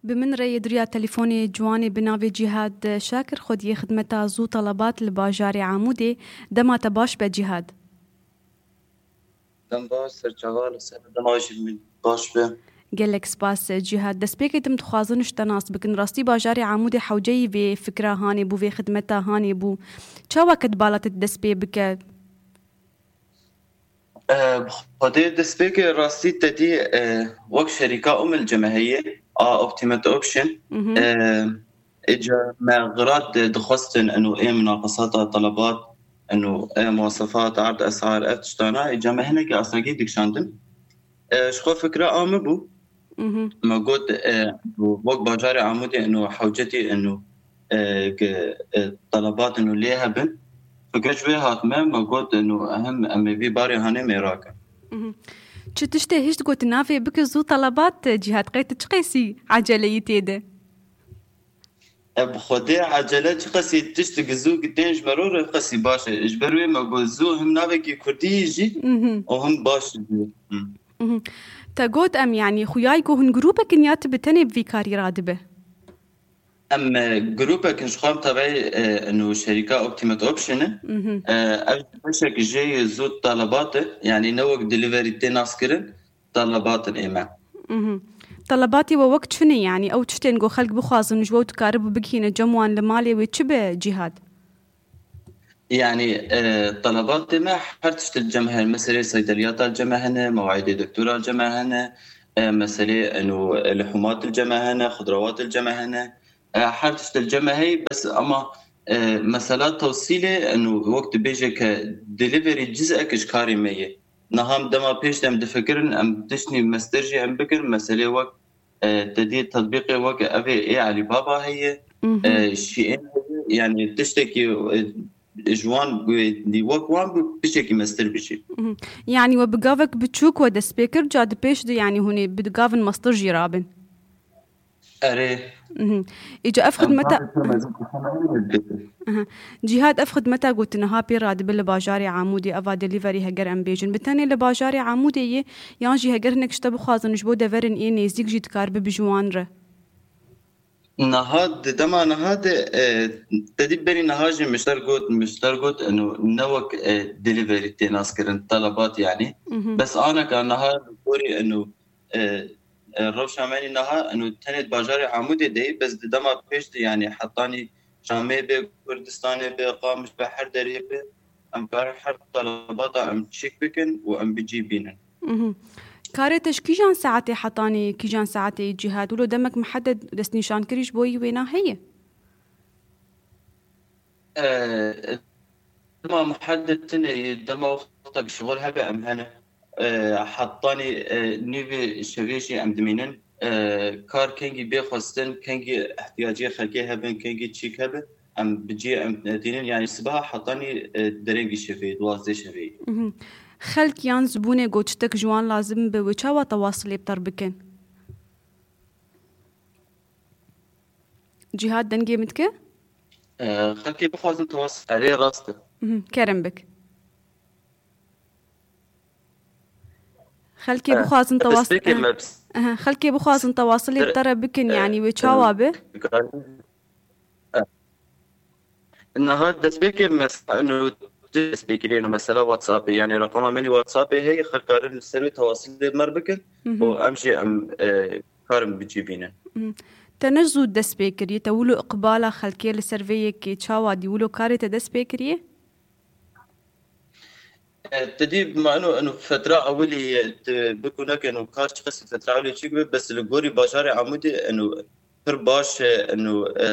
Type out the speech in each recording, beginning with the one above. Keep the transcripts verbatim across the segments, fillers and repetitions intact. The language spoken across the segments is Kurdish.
Bi min re yê duriya telefonê ciwanê bi navê Cîhad Şakir, xwediyê xidmeta zû telebat li bajarê Amûdê. Dema te baş be Cîhad. Dem baş, serçava li ser dema jî min baş be. Gelek spas Cîhad. Destpêkê tim dixwazin ji te nas bikin. Rastî bajarê Amûdê hewceyî vê fikra hanê bû, vê xidmeta hanê bû. Çawa ket bala te dest pê bike? Eh, bi Xwedê destpêkê rastî te dî, eh, wek şerîka Umil cemeheyê, a Optimate Option. Mhm. Eh, îca me xirat di-, dixwestin eno ê munaqesata telebat, eno ê muwasefat, erd esar, ev tiştana, îca me hinekî astengî dikişandin. Eh, ji xwe fikra a min bû. Mhm. Me got, eh, wek bajarê Amûdê eno hewcetî eno, eh, ke, eh, telebat eno lê hebin. Fikir ji wê hat me, me got, eno hem em ê vî barê hanê mêra kin. Mhm. Çi tiştê hişt got navê bike zû telebat, Cîhad, qey tu çi qesî eceleyî tê de? E, bi Xwedê ecele çi qesî tişt gizû gitên ji me re re qesî baş e. Ji ber wê me got zû him navekî kurdî jî Mhm. û him baş jî. Hı. Mhm. Te got em, yanî, xuyayî ku hûn grûpek in ya tu bi tenê bi vî karî radibe? Em, e, grûpek in ji xwe em tevayî, e, eno şerîka Optimate Option e. Mhm. E, ev beşek jê zû telebat e. Yanî ne wek delivery tê naskirin, telebatin ê me. Mhm. Telebatê we wek çi ne, yanî ew tiştên ku xelk bixwazin ji we û dikaribû bigihîne cem wan li malê wê çi be Cîhad? Yanî, e, telebatê me her tişt li cem hene. Meselê seydeliyata li cem hene, mewaîdê doktora li cem hene, e, meselê eno lihûmat li cem hene, xudrawat li cem hene. E, her tişt li cem heye, bes ama, e, mesela tewsîlê, eno wek dibêje ke delivery cizek ji karê me ye. Niha em dema pêş de em difikirin, em tiştî mestir jî em bikin, meselê wek, e, te dî tetbîqê wek ev ê, ê Alibaba heye, Mhm. e, Shein heye, yanî tiştekî, e, ji wan, e, wek wan bi piçekî mestir bijî. Mhm. Yanî we bi gavek biçûk we dest pê kir, ca di pêş de, yanî hûn ê bi gavin mestir jî rabin? Erê. Mhm. Îca ev Em xidmeta gavê pê mezin dixwin, ew ê dibê. Aha. Cîhad, ev xidmeta ku tu niha pê radibe li bajarê Amûdê, eva delivery heger em bêjin, bi tenê li bajarê Amûdê ye, yan jî heger hinek ji te bixwazin ji bo deverin ê nêzîk jî dikaribe bi ji wan re? Niha di dema niha de, e, te dî berî niha jî mişter got, mişter got, eno ne wek, e, delivery tê naskirin, telebat yanî. Mhm. Bes aneka niha li gorî eno, e, e, rewşa me nî niha eno tenê di bajarê Amûdê de ye, bes di dema pêş de yanî hetanî Şamê be, Kurdistanê be, Qamiş be, her derê be, em karin her telebata em çêk bikin û em bi cî bînin. Mhm. Karê te ji kîjan saetê hetanî kîjan saetê yî Cîhad? Wilo demek mihedded destnîşankirî ji bo yî wêna heye? E, dema muhedded tune ye, dema wextek şixul hebe em hene. E, hetanî, e, nîvê şevê jî em dimînin. E, kar kengî bê xwestin, kengî ihtiyacê xelkê hebin, kengî çîk hebe, em bi cî em tînin. Yanî sibeha hetanî, e, derengî şevê, duwazdeh şevê. Mhm. Xelk yan zibûnê ku tiştek ji wan lazim be, wê çawa tewasilê bi te re bikin? Cîhad, dengê min dike? E, xelkê bixwazin tewas-, erê, rast e. Mhm, kerem bik. Xelkê E, bixwazin tewas-, destpêkê e, me aha, xelkê bixwazin tewasilê bi te re bikin, e, yanî wê e, çawa be? E, niha destpêkê mes-, eno destpêkirî, eno mesela WhatsAppê, yanî reqama min ê WhatsAppê heye, xelk karin li ser wê tewasilê bi me re bikin Mhm. û em jî em, e, karin bi cî bînin. Mhm. Te ne zû dest pê kiriye, te wilo iqbala xelkê li ser vê yekê çawa dî, wilo karê te dest pê kiriye? E, te dî ma eno, eno fetra ewilî ye, tu bikû neke eno kar çiqasî fetra ewilî çêk be, bes li gorî bajarê Amûdê eno pir baş e, eno, e,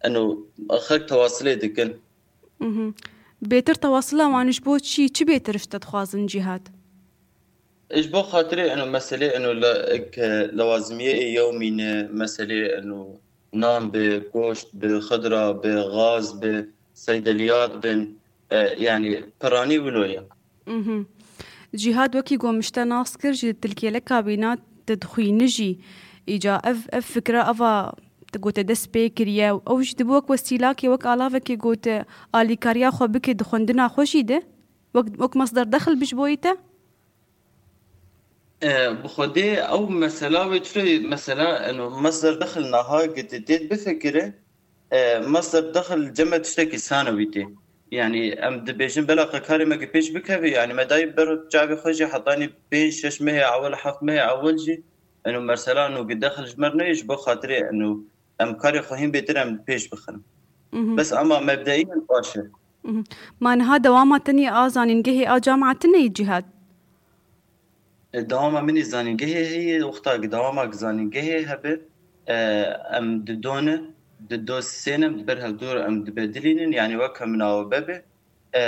eno xelk tewasilê dikin. Mhm. Bêtir tewasila wan ji bo çi, çi bêtir ji te dixwazin Cîhad? Ji bo xatirê eno meselê eno le-, ke lewazimiyê ê yewmî ne, meselê eno nan bi, goşt bi, xidra bi, gaz bi, seydeliyat bin, e, yanî piranî wilo ye. Mhm. Cîhad, wekî ku min ji te nas kir, ji tilkêleka bîna tu dixwînî jî. Îca ev, ev fikra eva tu gote dest pê kiriye. Ew jî dibe wek wesîlakê, wek alavekê gote alîkariya xwe bike di xwendina xwe jî de. Wek, wek mesder dexil bi ji boyî te? E, bi xwedê ew mesela wê çi mesela, eno, mesder dexil naha gitê tê bifikire, e, mesder dexil cem me tiştekî sanewî tê. Yanî em dibêjin bela qe karê me ki pêş bikeve, yanî me dayî ber çavê xwe jî hetanî pênc şeş mehê ewil, heft mehê ewil jî, eno, mesela, eno, gi dexil ji me re neyê, ji bo xatirê, eno, em karê xwe hîn bêtir em pêş bixin. Mhm. Bes ama mebdeî min baş e. Mhm. Ma niha dewama tenê a zanîngehê a cama tune yî Cîhad? E, dewama min ê zanîngehê heye, wexta ki dewama ki zanîngehê hebe, e, em di do ne, di do sê ne, em di ber hevdû re em dibedilînin, yanî wek hemina we bebe, e,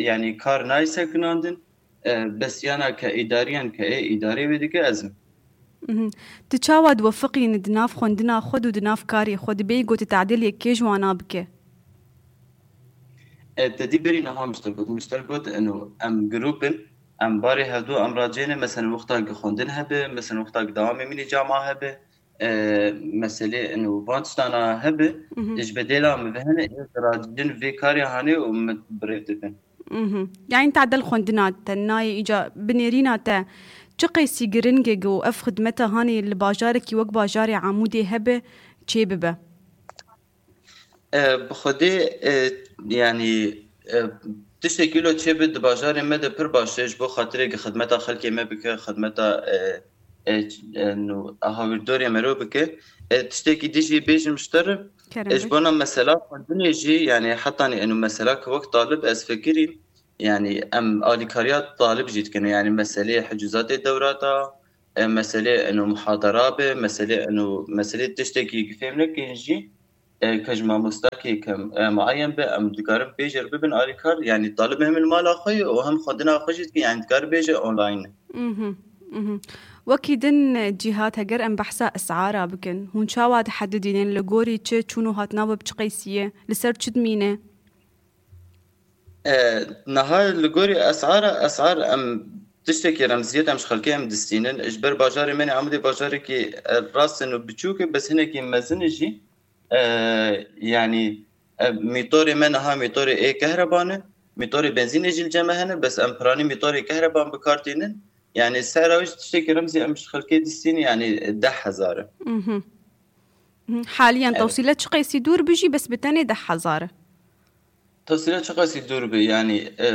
yanî kar nayê sekinandin, e, bes yana ke îdariyan ke ê îdarê wê dike ez im. Mhm. Tu çawa diwefiqînî di nav xwendina xwe û di nav karê xwe dibêyî ku tu tadîl yekê ji wana bike? E, te dî berî niha min ji te got, min ji te got, eno, em grûp in, em barê hevdû em racêne, mesela, wexta ki xwendin hebe, mesela, wexta ki dewamê min ê cama hebe, e, meselê, eno, van tiştana hebe, Mhm. ji bedêla min ve hene, ê racin vê karê hanê û min birêv dibin. Mhm. Yani tadel xwendina te, nayê îca binêrîna te, çi qeysî giring e ku ev xidmeta hanê li bajarekî wek bajarê Amûdê hebe, çê bibe? E, bi xwedê, e, yanî, e, tiştekî lo çêbi di bajarê me de pir baş e, ji bo xatirê ki xidmeta xelkê me bike, xidmeta, e, e, e, nû, hawîrdorê mero bike. E, tiştekî dî jî bêjim ji te re, Kerem e, ji bik. Bona mesela xwendinê jî, yanî hetanî eno mesela ki wek talib ez fikirîm, yanî em alîkariya talib jî dikin, yanî meselê hicûzatê dewrata, e, meselê eno muhadara be, meselê eno, meselê tiştekî ki fêm nekin jî, e, ke ji mamostakê ke, e, muayen be, em dikarin pêjêr bibin alîkar, yanî talib hem li mala xwe ye û hem xwendina xwe jî dikin, yanî dikar bêje online. Mhm, mhm. Wekî din, e, Cîhad, heger em behsa esara bikin, hûn çawa dihedidînin, li gorî çi çûn û hatina we bi çi qeysî ye, li ser çi dimîne? E, niha li gorî esara, esar em tiştekî remziyet em ji xelkê em distînin. Ji ber bajarê me ne Amedê bajarekî, e, rast in û biçûk e, bes hinekî mezin e jî. E, yanî, e, mîtorê me niha mîtorê ê kehreban e. Mîtorê benzînê jî li cem me hene, bes em piranî mîtorê kehreban bi kar tînin. Yanî sera wî jî tiştekî remzî em ji xelkê distînin, yanî deh hezar e. Mhm. Mhm. Haliyen Evet. tewsîle çi qeysî dûr bi jî bes bi tenê deh hezar e. Tewsîle çi qeysî dûr bi, yanî, e,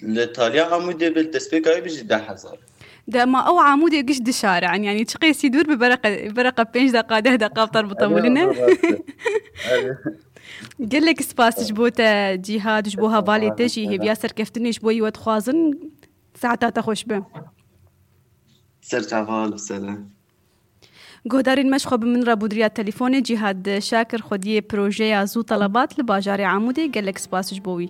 li taliya Amûdê bi, destpêka wî bi jî deh hezar. Dema ew Amûdê giş dişare, yani, yani çi qeysî dûr bi bereqe, bereqe pênc deqa, deh deqa bi tarbuta Evet, wî ne? evet, rast e. Evet. Gelek spas ji bo te Cîhad, ji bo hevalê te jî, hêviya serkeftinê ji bo yî we dixwazin. Saeta te xweş be. Ser çava, li ser e. Guhdarên me ji xwe bi min re bû di riya telefonê Cîhad Şakir xwediyê projeya Zû Telebat li bajarê Amûdê, gelek spas ji bo wî.